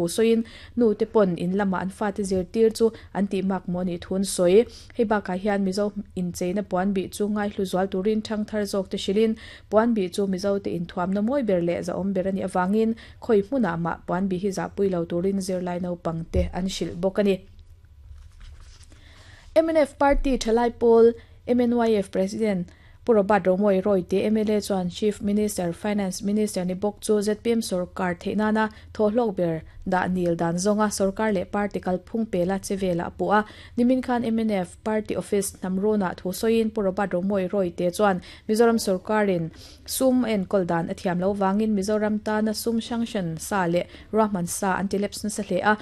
thu sawiin nu te pawn in lama an fate zirtir chu an tih mak maw nih thu an sawi. Hei bakah hian Mizo incheina puan bih chu ngaihlu zual turin thangthar zawk te hrilhin puan bih chu Mizo te inthuamna mawi ber leh zahawm ber a nih avangin khawi hmunah mah puan bih hi zahpui lo turin zirlai naupang te an hrilh bawk a ni. Mnf Party thalai pawl MNYF President Pu Robert Romawia Rawite mla chuan Chief Minister, Finance Minister ni bawk chu zpm sorkar theih nana thawhhlawk ber dah nil dan zawnga sorkar leh party kalphung pela che velah a puh a. Nimin khan mnf Party Office hnamrunah thu sawiin Pu Robert Romawia Rawite chuan Mizoram sorkarin sum a enkawl dan a thiam lo vangin Mizoram tana sum sanction sa leh ruahman sa an ti lapse nasa hle a.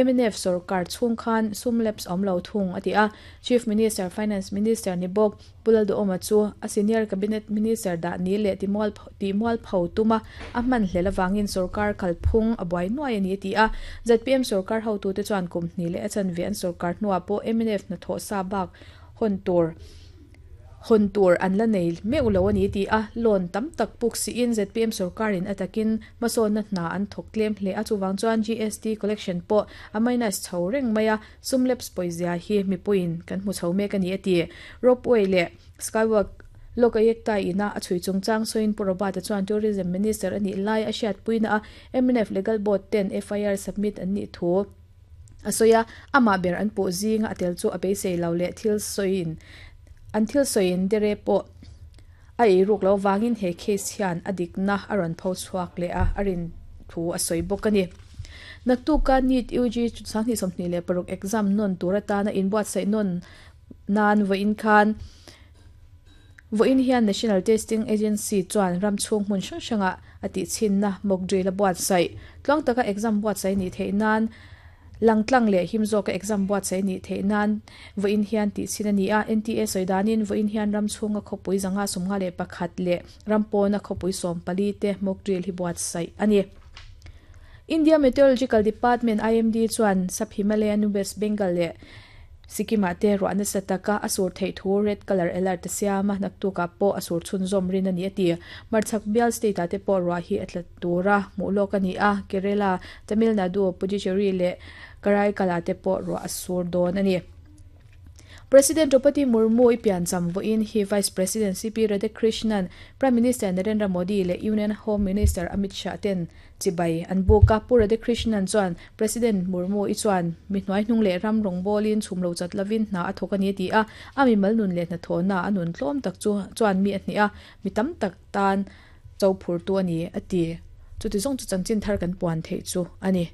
Mnf sorkar chhung khan sum lapse awm lo thung a ti a. Chief Minister, Finance Minister ni bawk Pu Lalduhawma chu a Senior Cabinet Minister dah ni leh tihmualpho tuma a hman hlel avangin sorkar kalphung a buai nuai a ni a ti a. Zpm sorkar hotute chuan kum hnih leh a chanve an sorkar hnuah pawh mnf hnathawh sa bak hawn tur Hawn tur an la nei meuh lo a ni ti a, loan tam tak puk siin zpm sorkarin a takin hmasawnna hna an thawk tlem hle a, chuvang chuan GST collection pawh a minus chho reng mai a, sum lapse pawizia hi mipuiin kan hmu chho mek a ni a ti. Ropeway leh Skywalk Lokayukta ina a chhui chungchang sawiin Pu Robert-a chuan Tourism Minister a nih lai a hriatpuina a mnf Legal Board ten FIR submit an nih thu A sawi a, amah ber an puh zinga a tel chu a beisei lo leh thil sawiin an thil sawiin dere pawh a ei ruk loh vangin he case hian a dikna a rawn pho chhuak leh a, a rin thu a sawi bawk a ni. Naktuka NEET UG 2026 exam nawn tur atana inbuatsaih nawn nan vawiin khan Vawiin hian National Testing Agency chuan ram chhung hmun hrang hrangah a tihchhinna mock drill a buatsaih. Tluang taka exam buatsaih nih theih nan langtlang leh him zawka exam buatsaih nih theih nan vawiin hian tihchhin a ni a. NTA sawi danin vawiin hian ram chhunga khawpui 551 leh ram pawna khawpui 14 te mock drill hi buatsaih a ni. India Meteorological Department, IMD, chuan Sub Himalayan West Bengal leh Sikkim-ah te ruah nasa taka a sur theih thu red colour alert a siam a, naktukah pawh a sur chhunzawm rin a ni a ti. Hmarchhak bial state-ah te pawh ruah hi a tla tura hmuh lawk a ni a, Kerala, Tamil Nadu, Puducherry leh Karaikal-ah te pawh ruah a sur dawn a ni. President Draupadi Murmu i piancham vawiin hi Vice President CP Radhakrishnan, Prime Minister Narendra Modi leh Union Home Minister Amit Shah ten Chibai an buk a, Pu Radhakrishnan chuan President Murmu i chuan mi hnuaihnung leh ram rawngbawlin chhum lo chat lovin hna a thawk a ni a ti a, a mimal nun leh hnathawhna a nun tlawm tak chu chuan mi a hneh a, mi tam tak tan cho phurtu a ni a ti. Chuti zawng chu chanchin thar kan puan theih chu a ni.